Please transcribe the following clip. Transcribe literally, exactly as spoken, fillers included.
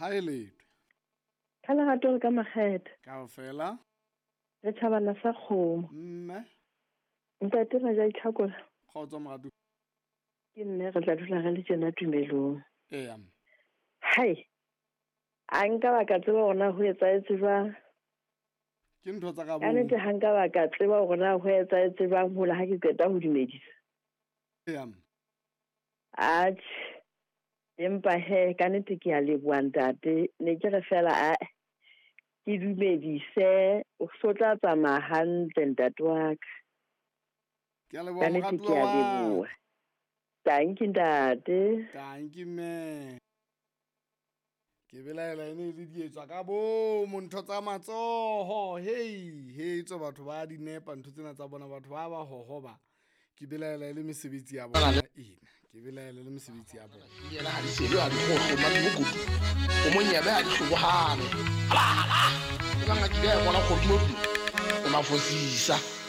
Ha e letho. Ka lerato le ka makgethe. Kaofela. Re tjhabana sa kgomo. Mme. Ntate Raja Itlhakola. Kgotso moratu. Ke mme re tla dula re le tjena tumelong. Eya. Hai. A nka ba ka tseba hore na ho etsahetse jwang. Ke ntho tsa ka Ka nnete ha nka ba ka tseba hore na ho etsahetse jwang hola ha ke qeta ho dumedisa. Eya. Atjhe. Empa he ka nnete ke a leboha ntate. Ne ke re fela a ke dumedise o so tla tsamaya hantle ntate wa ka. Ke a leboha Ka nnete ke moratuwa a wa leboha. Tanki ntate. Tanki mme. Ke belaela e ne e le dietswa ka bomo ntho tsa matsoho. Hei, hei tswe batho ba di nepa ntho tsena tsa bona batho ba ba hohoba. Ke belaela e le mesebetsi ya bona ena. Ke belaela e le mesebetsi ya bona. Yena ha di sele ha di kgohlo mane mokopu. O monyebe ha di hlobohane. Hala hala. E bang a kile a bona kgodumodumo. O mafosisa.